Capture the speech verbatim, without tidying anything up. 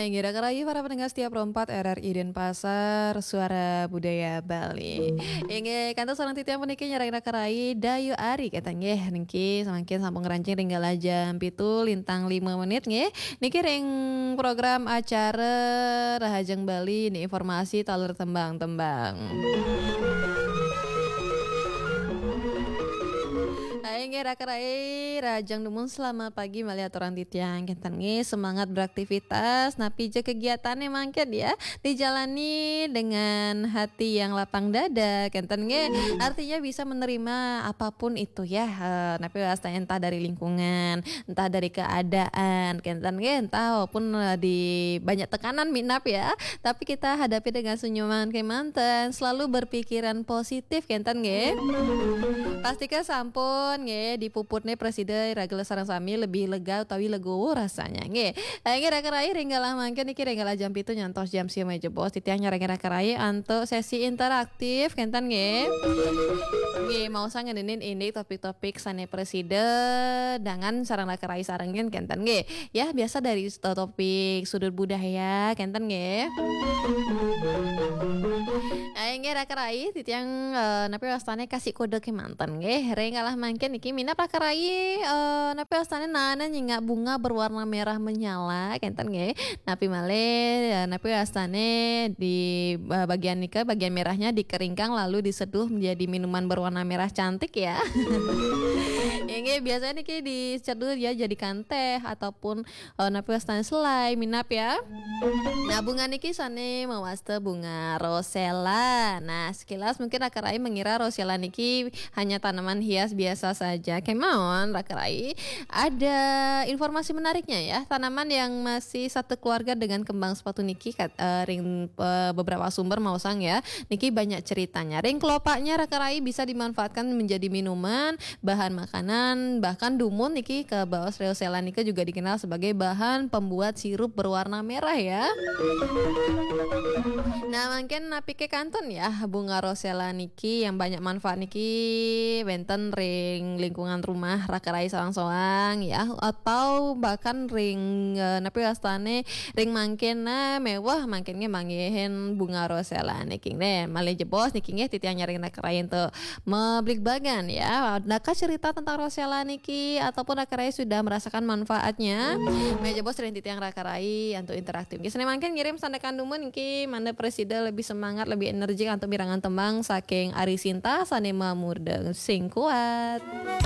Inggih, raka rayi para pendengar setia Pro empat R R I Denpasar, Suara Budaya Bali. Inggih, kantos sareng titiang puniki nyarengin raka rayi Dayu Ari, kenten nggih. Niki samangkin sampun ngranjing ring galah jam pitu lintang lima menit nggih. Niki ring program acara Rahajeng Bali, ini informasi taler tembang-tembang. Inggih, raka rayi, rahajeng dumun, selamat pagi malih aturang titiang. Kenten nggih, semangat beraktivitas, napi ja kegiatannya mangkin ya, dijalani dengan hati yang lapang dada, kenten nggih. Artinya bisa menerima apapun itu ya, eh, napi wastanya, entah dari lingkungan, entah dari keadaan, kenten nggih, entah walaupun, eh, di banyak tekanan minab ya, tapi kita hadapi dengan senyuman kemanten, selalu berpikiran positif, kenten nggih. Pastika sampun nggih, dipuputne prasida iraga sareng sami lebih lega utawi legowo rasanya nggih. Inggih, raka rayi, ring galah mangkin niki ring galah jam pitu nyantos jam sia malih jebos, titiang nyarengin raka rayi antuk sesi interaktif, kenten nggih. Nggih, maosang ngenenin indik topik-topik sane prasida dangan sareng raka rayi sarengin, kenten nggih. Ya, biasa dari to-, topik sudut budaya, kenten nggih. Inggih, raka rayi, titiang, eh, napi wastane kasih kode kemanten nggih. Ring galah mangkin niki minab raka rayi, eh, napi wastane naenin nyingak bunga berwarna merah menyala, kenten nggih. Napi malih, eh, napi wastane di, eh, bagian nika, bagian merahnya dikeringkan lalu diseduh menjadi minuman berwarna merah cantik ya. Inggih, biasanya niki diseduh ya jadikan teh ataupun, eh, napi wastane selai, minab ya. Nah, bunga niki sane mawasta bunga rosella. Nah, sekilas mungkin raka rayi mengira rosella niki hanya tanaman hias biasa saja. Kemawon raka rayi, ada informasi menariknya ya. Tanaman yang masih satu keluarga dengan kembang sepatu niki kat-, eh, ring, eh, beberapa sumber maosang ya. Niki banyak ceritanya. Ring kelopaknya raka rayi bisa dimanfaatkan menjadi minuman, bahan makanan, bahkan dumun niki kabaos rosella nika juga dikenal sebagai bahan pembuat sirup berwarna merah ya. Nah, mangkin napi kekantun ya, bunga rosella niki yang banyak manfaat niki wenten ring lingkungan rumah raka rayi soang-soang ya, atau bahkan ring, eh, napi wastane ring mangkin, nah, mewah mangkin nggih manggihin bunga rosella niki nggih. Malih jebos niki nggih titiang nyarengin raka rayi antuk mabligbagan ya. Adakah cerita tentang rosella niki ataupun raka rayi sudah merasakan manfaatnya? Malih jebos ring titiang raka rayi antuk interaktif. Nggih, sane mangkin ngirim sandekan dumun niki mangda prasida lebih semangat, lebih energik antuk mirengang tembang saking Ari Sinta sane mamurda Sing Kuat.